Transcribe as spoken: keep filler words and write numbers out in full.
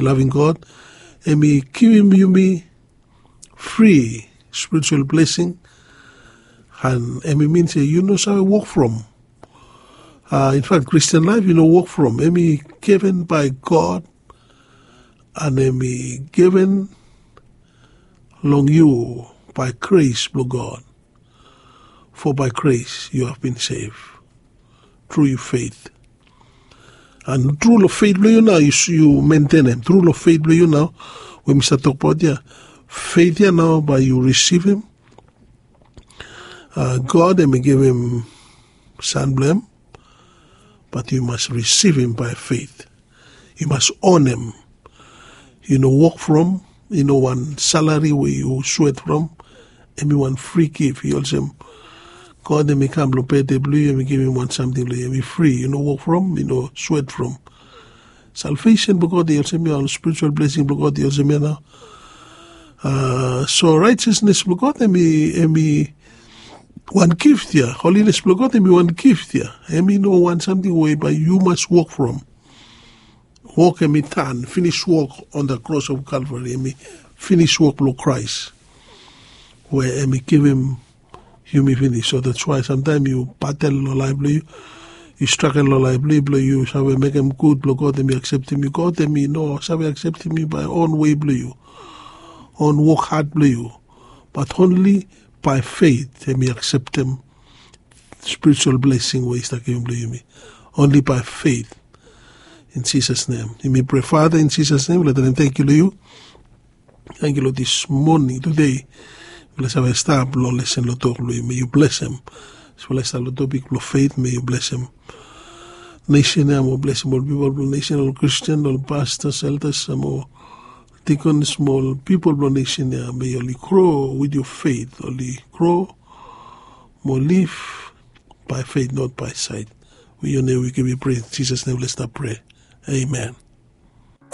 Laving God, em i givim yumi fri spiritual blessing. And em i min se yu no save wok from. Uh, in fact, Christian life yu no wok from. Em i given by God, and em i given long yu by grace blong God. For by grace you have been saved through your faith. And tru long faith blong yu nao yu mentenem, tru long faith blong yu nao we mi stap tokbaot ya. Faith ya nao bae yu risivim. Uh, God em i givim Son blong em, but yu mas risivim by faith. Yu mas onem. Yu no wok from, yu no wan salari we yu swet from. Em i wan fri gif. I olsem God em i kam long bede blong yu, em i givim wan samting long yu, em i fri. Yu no wok from, yu no swet from. Salvation blong God i olsem ya, ol spiritual blessing blong God i olsem ya nao. Uh, so righteousness blong God em i, em i wan gift ya. Holiness blong God em i wan gift ya. Em i no wan samting we bae yu mas wok from. Wok em i tan, finis wok on the cross of Calvary, em i finis wok blong Christ, we em i givim yumi finis. So that's why samtaem yu batel long laef blong yu, yu stragel long laef blong yu, blong yu save mekem gud blong God em i akseptim yu. God em i no save akseptim yu bae on wei blong yu, on wok had blong yu, but only by faith em i akseptim spiritual blessing we i stap givim blong yumi. Only by faith. In Jesus' name. Yumi pray, Father, in Jesus' name, mifala talem tangkiu long yu. Tangkiu long this morning, today. Mifala save stap long lesen long tok blong yu, me yu blesem. Mifala stap long topik blong faith, me yu blesem nation ya, mo blesem ol pipol blong nation, ol Christian, ol pastors, elders, mo deacons, mo ol pipol blong nation ya, me oli grow with your faith, oli grow mo live by faith, not by sight. We your name we give you praise. In Jesus' name, let's stop pray. Amen.